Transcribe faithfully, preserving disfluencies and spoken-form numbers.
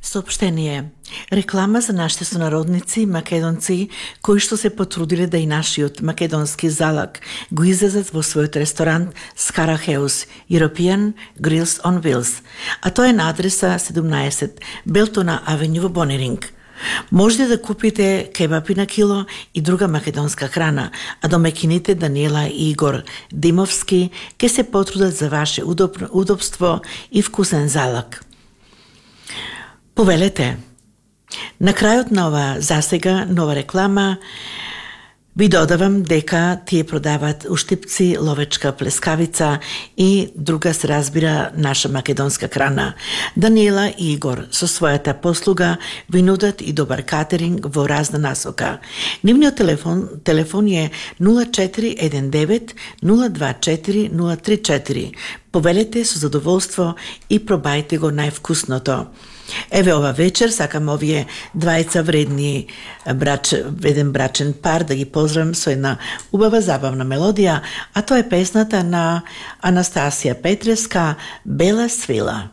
Соопштение. Реклама за нашите сонародници, македонци, кои што се потрудиле да и нашиот македонски залак го излезат во својот ресторант Skara House, European Grills on Wheels, а тоа е на адреса седумнаесет Белтона Авеню во Бонеринг. Можете да купите кебапи на кило и друга македонска храна, а домаќините Даниела и Игор Димовски ќе се потрудат за ваше удоб, удобство и вкусен залак. Повелете. На крајот на ова засега нова реклама ви додавам дека тие продават уштипци, ловечка плескавица и друга се разбира наша македонска храна. Даниела и Игор со својата послуга ви нудат и добар катеринг во разна насока. Нивниот телефон, телефон е нула четири еден девет нула два четири нула три четири. Повелете со задоволство и пробајте го највкусното. Еве ова вечер сакам овие двајца вредни брач, еден брачен пар да ги поздравам со една убава забавна мелодија, а тоа е песната на Анастасија Петреска Бела свила.